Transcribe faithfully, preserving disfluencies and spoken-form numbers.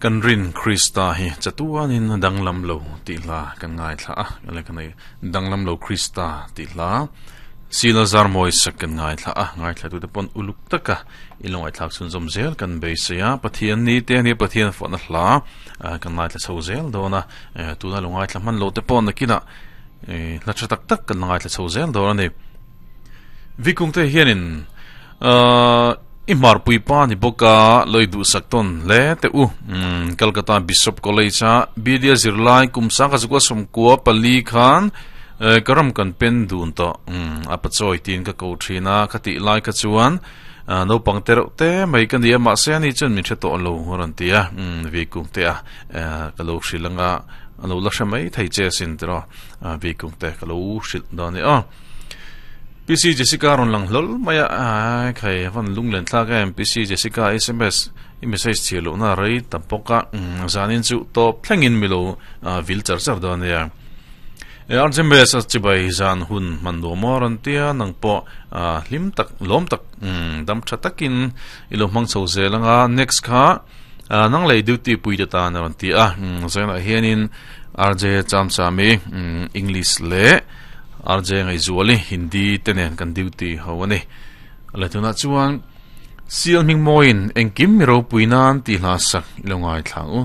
Kan rin Krista hi chatuanin danglam lo tih hla kan ngaithla a, le kan danglam lo Krista tih hla Sila Zarmawi sak kan ngaithla a, ngaithla tute pawn uluk taka i lo ngaihthlak chhun zawm zel kan beisei a, Pathian ni te ania Pathian fawhna hla kan ngaithla chho zel dawn a, tuna lo ngaithla hman loh te pawh nakinah hla tha tak tak kan la ngaithla chho zel dawn a ni. Vikung te hianin i hmarpui pa ni bawk a, loi duhsak tawn hle teh u. Calcutta Bishop College a Bilia zirlai kum sangkhat zakua sawmkua pali khan ka ram kan pen dun tawh a pachawi tiin ka ko thin a, ka tih lai kha chuan naupang te reuh te mai ka ni a, mahse ani chuan min hre tawh lo a rawn ti a, Vikung te a ka lo hrilh anga a lo la hre mai thei che asin tiraw Vikung te ka lo hrilh dawn a ni aw. P C Jessica rawn lang hlawl mai a, ai khai a van lunglen thlak em P C Jessica S M S i message chhiar lohna a rei ta bawk a, zanin chu tawp thlengin mi lo vil char char dawn ania. R J M S a chibai zan hun hman duh maw rawn tia nang pawh hlim tak lawm tak dam tha takin i lo hmang chho zel anga next kha nang lei duty pui te tan a rawn ti a, zainah hianin R J Chamchami English leh R J Ngaihzuali Hindi te nen kan duty ho a ni. Le tunah chuan Sial hming mawiin engkim mi ropui nan tih hla sak i lo ngaithla ang u.